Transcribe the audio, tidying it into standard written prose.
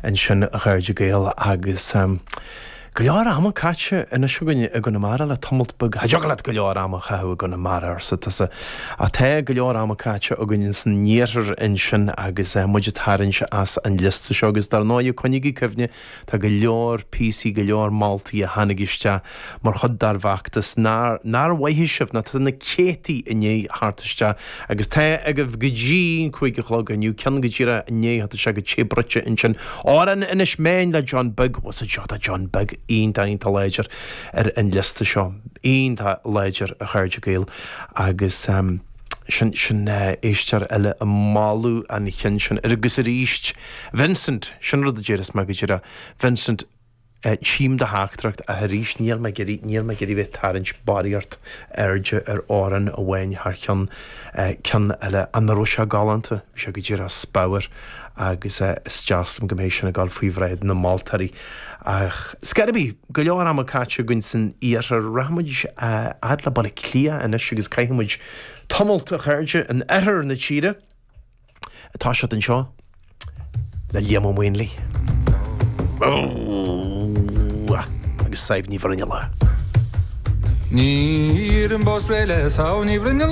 ansin a chairde Gael agus go leor ama caite anois againn i gConamara le tamalt beag. Cha dtiocfadh leat go leor ama a chaitheamh i gConamara, arsa tusa. Ach tá go leor ama caite againn ins an iarthar ansin agus muid ag tarraingt as an liosta seo agus dar ndóigh coinnígí cuimhne Tá go leor píosaí, go leor moltaí a tháinig isteach mar chuid dár bhfeachtas nár, nár mhaithe sibh, nó tá na céadtaí i ndiaidh theacht isteach agus tá agaibh go dtí an 5 a chlog inniu, ceann go díreach i ndiaidh theacht isteach go te bruite ansin. Amhrán Inis Meáin le John Beag, bhuel seo tá John Beag iontach, iontach láidir ar an liosta seo, iontach láidir a chairde Gael agus. Sin, sin éisteoir eile ag moladh an chinn sin. Agus arís, Vincent, sin rud a déarfas mé go díreach, Vincent, tchím do theachtaireacht ach arís níl mé ag iarraidh, níl mé ag iarraidh bheith ag tarraingt barraíocht airde ar amhrán amháin thar cheann ceann eile. An raibh sé galánta? Bhí sé go díreach speabhar agus is deas liom go mbeidh sin ag dul faoi bhráid na moltóirí. Ach scor ar bith, go leor ama caite againn san iarthar. Rachaidh muid fhad le Baile Átha Cliath anois agus caithfidh muid tamalt, a chairde, in oirthear na tíre. Tá siad anseo le Liam Ó Maonlaí agus Sadhbh Ní Bhruinnealla. Ní iarraim bás breithe le Sadhbh Ní Bhruinnealla.